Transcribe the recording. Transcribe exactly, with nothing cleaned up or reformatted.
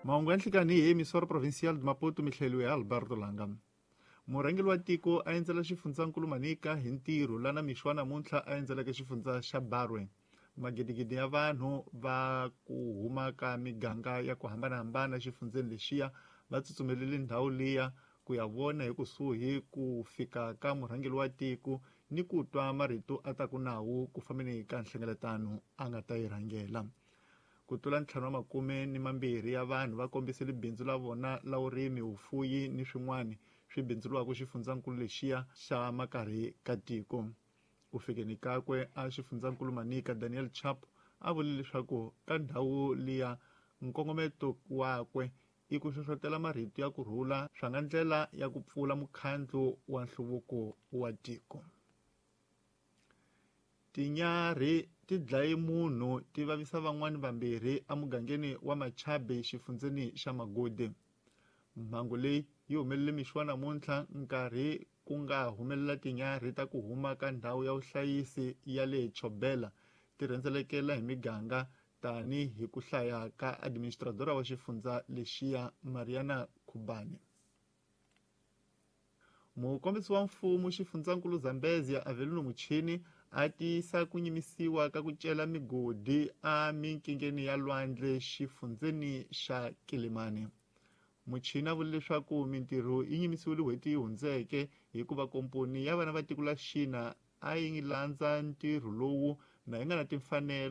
Mahungu ya nhlikani hi Emissora Provincial de Maputo, mihleliwe ya Alberto Langa. Murhangeri wa tiko a endzela xifundzankulu Manica hi ntirho lana mixo wa namuntlha a endzeleke xifundza xa Barwe. Magidigidi ya vanhu va ku huma ka miganga ya ku hambanahambana xifundzeni lexiya va tsutsumelele ndhawu liya ku ya vona hi kusuhi ku fika ka murhangeri wa tiko ni ku twa marito a ta ku nawu ku fambeni ka nhlengeletano a nga ta yi rhangela. Ku tlula ntlhanu wa makume ni mambirhi ya vanhu va kombisile bindzu la vona la vurimi, vufuyi ni swin'wana swi bindzuriwaka xifundzankulu lexiya xa makarhi ka tiko. Ku fikeni kakwe a xifundzankulu Manica, Daniel Chapo a vule leswaku ka ndhawu liya nkongometo wakwe i ku hlohlotela marito ya kurhula swa nga ndlela ya ku pfula mukhandlu wa nhluvuko wa tiko. Tinyarhi ti dlaye munhu ti vavisa van'wani vambirhi emugangeni wa Machabe xifundzeni xa Magude. Mhangu leyi yi humelele mixo wa namuntlha nkarhi ku nga humelela tinyarhi ta ku huma ka ndhawu ya vuhlayisi ya le Chobela ti rhendzelekela hi miganga tani hi ku hlaya ka administradora wa xifundza lexiya Mariana Khubani. Mukombisi wa mfumo xifundzankulu Zambezia Avelino Muchini a tiyisa ku nyimisiwa ka ku cela migodi a minkingeni ya lwandle xifundzeni xa Kilimani. Muchini a vule leswaku mintirho yi nyimisiwile n'hweti yi hundzeke hikuva komponi ya vana va tiko la Xina a yi landza ntirho lowu na yi nga na timfanelo.